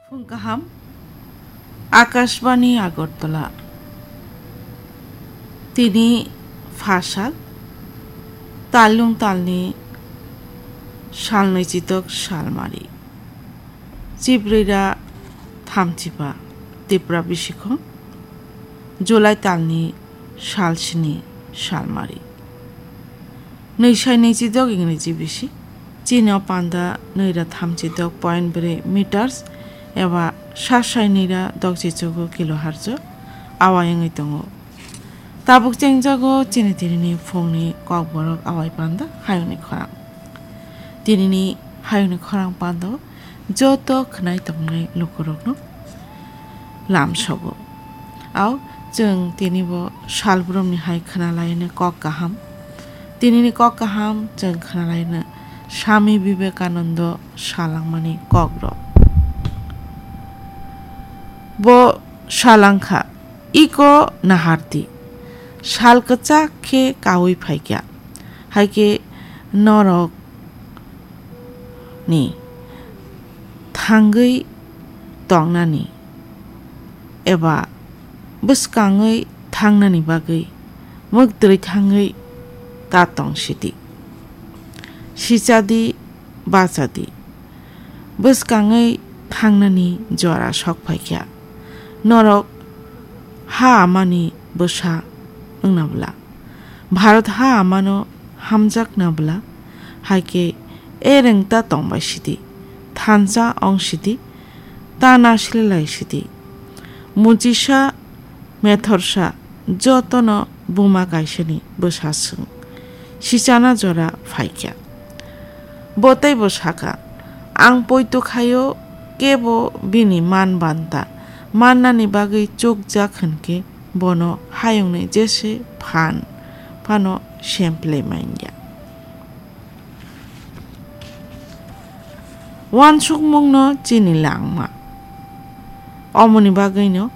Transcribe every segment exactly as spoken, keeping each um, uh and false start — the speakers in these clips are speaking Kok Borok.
Phung kaham, Akashbani Agartala. Tini phasal, talung talni salnwi chitok salmari. Chibrira thamchiba Tipra bisikhong, July talni salsini salmari. Nwi sai nwi chitok Ingreji bisi. Chini o panda nwi ra thamchi dok point bwrwi meters eba sa sai nwi ra dok chichugo kilohertz o awai wngwi tongo. Tabuk chengjago chini tinini phungni kokborok awai panda hayungni khorang. Tinini hayungni khorang panda o joto khwnai tongnai lukurokno lamsogo. Au, chwng tini bo salbrumni hai khwnalaino kok kaham. Tinini kok kaham chwng khwnalaino Swami Vivekanando salangmani kokrok. Bo salangkha, "Iko nahardi, sal kwchak khe kaui phaikha, hai khe norok ni thangwi tongnani eba bwskangwi thangnani bagwi mwktwi thangwi ta tong sidi. Sichadi, bachadi, bwskangwi thangnani jora sok phaikha. Norok ha amani bwsa wngna bwla." Bharat ha amano hamjakna bwla, hai khe e rwngta tongbai sidi, thansa ong sidi, ta nasililai sidi. Muchisa, methorsa, jotono buma kaisani bwsa swng. Sichana jora phaikha. Bo teibo sakha, "Ang poito khaio, kebo bini man banta mannani bagwi chukjak hwnkhe bono hayungni jese phan phano semplai manya." Wansukmungno chini langma. Omoni bagwino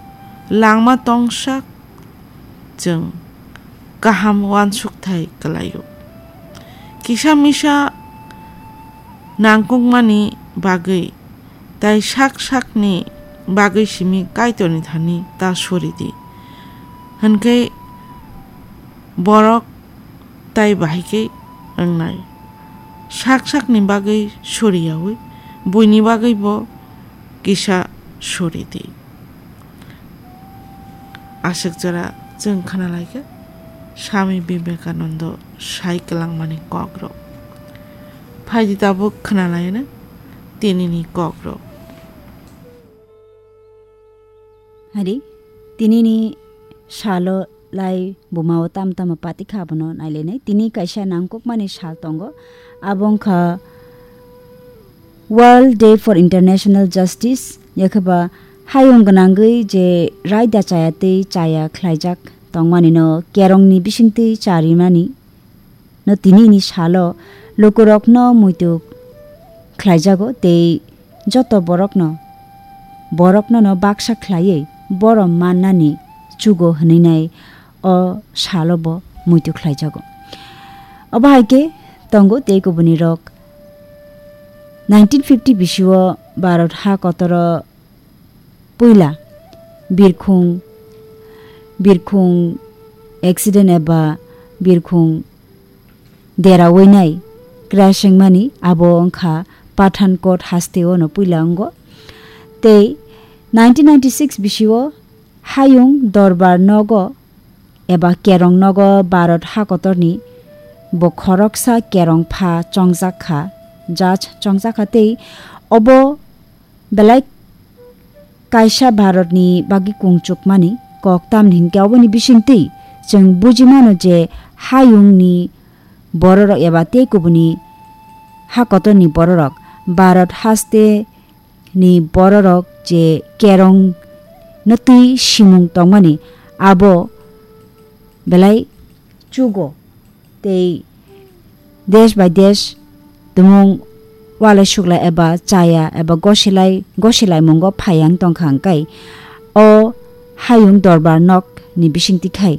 langma tongsak chwng kaham wansukthai kwlaio. Kisa misa nangkukmani bagwi tai sak sakni bagwi simi Kaitorni thani ta suri di. Hwnkhe borok tai bahai khe wngnai. Sak sakni bagwi suriyaui buini bagwi bo kisa suri di. Aswk jora chwng khwnalaikha Swami Vivekanando sai kwlangmani kokrok. Phaidi tabuk khwnalaina tinini kokrok. Hari, tinini salo lai bumao tam tamo patikha abono nailainai. Tini kaisa nangkukmani sal tongo. Abo wngkha World Day for International Justice, yakheba hayung gwnangwi je raida chaya tei chaya khlaijak tongmani no kerongni bisingtwi charimani no tinini salo lukurokno muitu khlaijago tei joto borokno, borokno no baksa khlaiwi borom mannani chugo hwnwi nai o salo bo muitu khlaijago. Obo hai khe tongo tei kubuni rok nineteen fifty bisio Bharat ha kotoro puila birkhung, birkhung accident eba birkhung deraui nai crash wngmani abo wngkha Pathankot hasteo no puila wngo. Tei nineteen ninety-six bisio hayung dorbar nogo eba kerong nogo Bharat hakotorni bo khoroksa kerong pha chongjak kha, judge chongjak kha tei obo belai kaisa Bharatni bagwi kungchukmani kok tamni hinkhe oboni bisingtwi chwng buji mano je hayungni bororok eba tei kubuni hakotorni bororok Bharat haste ni bororok je kerong no twi simung tongmani abo belai chugo tei desh bai desh tumung walai suklai eba chaya eba gosilai gosilaimungo phaiya wng tongkha hwnkhe o hayung dorbar nok ni bisingtwi khai